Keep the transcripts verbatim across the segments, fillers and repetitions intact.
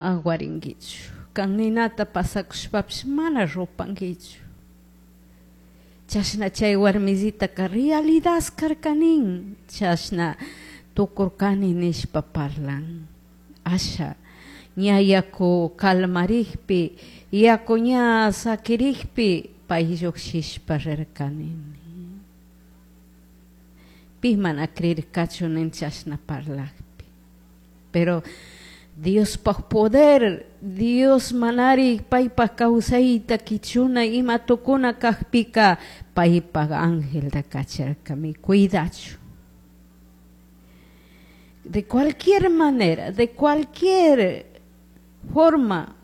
Aguaringuichu. Kan ninata pasakushpapish mana rupanguichu. Chashna chay warmisitaka realidad karkanin. Chashna tukurkani nishpa parlan. Asha ña yaku calmarikpi, yaku ña sakirikpi pay llukshishpa rirkani. Pi mana creerkachu nin chashna parlakpi. Pero Diospaj poder, Dios manari paypaj kawsayta kichuna ima tukuna kakpika paypaj angelta kacharkami cuidachu. De cualquier manera, de cualquier forma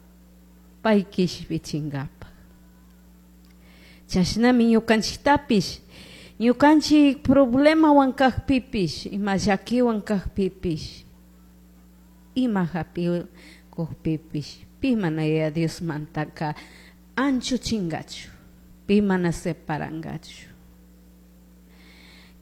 pay kishpichinkapaj. Chashnami ñukanchiktapish, ñukanchik problemawan kakpipish, ima llakiwan kakpipish, ima hapikukpipish, pi mana Yaya Diosmantaka anchuchinkachu, pi mana separankachu.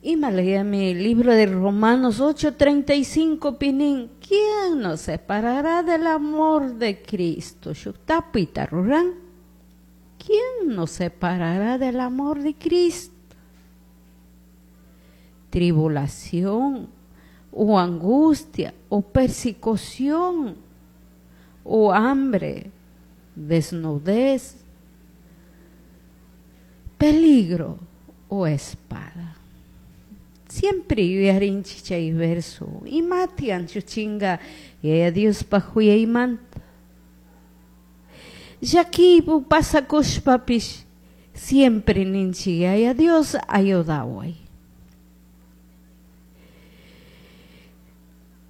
Ima layami libro de Romanos ocho treinta y cinco pinin, ¿quién nos separará del amor de Cristo? Shuk tapuyta ruran. ¿Quién nos separará del amor de Cristo? Tribulación, o angustia, o persecución, o hambre, desnudez, peligro o espada. Siempre yuyarinchik chay verso. Imati anchuchinga Yaya Diospaj huyaymanta. Llakipu pasakushpapish siempre ninchik Yaya Dios ayudaway.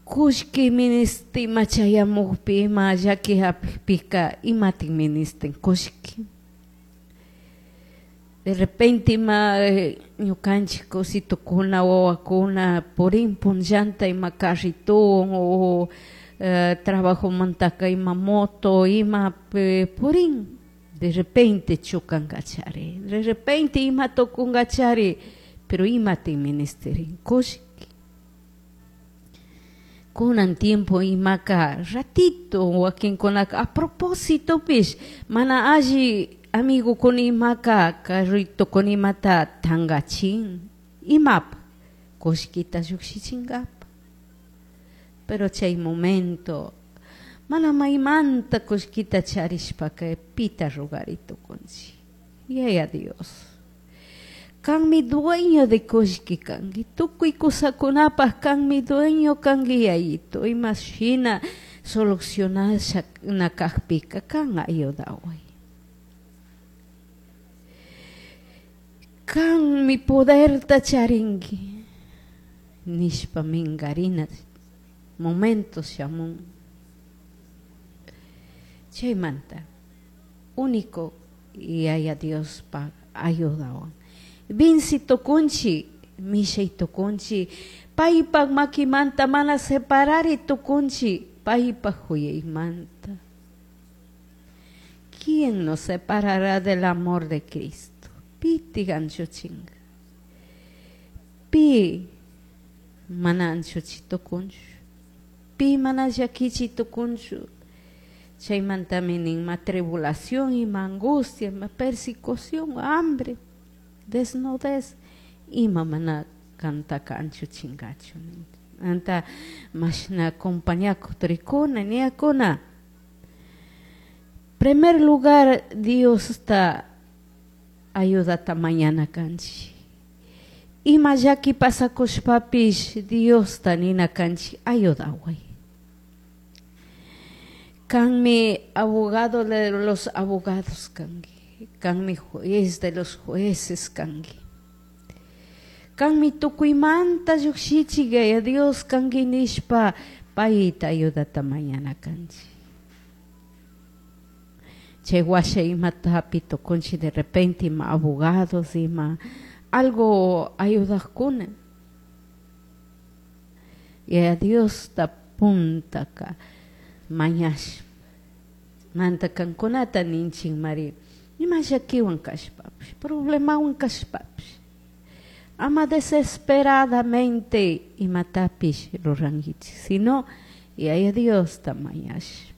Kullki ministi machayamukpi ima llaki hapikpika imatin ministin kullki. De repente ima ñukanchik kusitukuna wawakuna purin punllanta ima carritun o eh, trabajomantaka ima moto ima purin. De repente chukankachari, de repente ima tukunkachari, pero imatin ministerin kullki. Kunan tiempo imaka ratito wakinkunaka a propósito pish mana alli amigo kun imaka carrito kun imata tangachin imap kullkita llukshichinkapa. Pero chay momento mana maymanta kullkita charishpaka pita rugari tukunchik. Yaya Dios, kanmi dueño de kullki kanki, tukuy kusakunapaj kanmi dueño kanki yayito, imashina solucionasha nakajpika kan ayudaway. Kanmi poderta charinki nishpa minkarina momento shamun. Chaymanta único Yaya Diospaj ayudawan. Vinci tukunchi, mishay tukunchi, paypaj makimanta mana separari tukunchi, paypaj huyaymanta. ¿Quién nos separará del amor de Cristo? Piti anchuchinga. Pi mana anchuchi tukunchu. Pi mana llakichi tukunchu. Chaymantami nin ma tribulación ima angustia, ma persecución, hambre, desnudez, ima mana kantaka anchuchingachu. Anta mashna compañakuq trikuna, niyakuna. Primer lugar, Diosta ayudata mañana kanchik. Ima llaki pasakushpapish Diosta nina kanchik ayudaway. Kanmi abogado de los abogados kanki, kanmi juez de los jueces kanki. Kanmi tukuymanta llukshichik Yaya Dios kanki nishpa payta ayudata mañana kanchik. Chay washa imata hapi tukunchik de repente ima abogados ima algo ayudajkuna. Yaya Diosta puntaka mañashpa manta kankunata ninchik mari ima llakiwan kashpapish, problemawan kashpapish, ama desesperadamente imatapish rurankichik, sino Yaya Diosta mañashpa.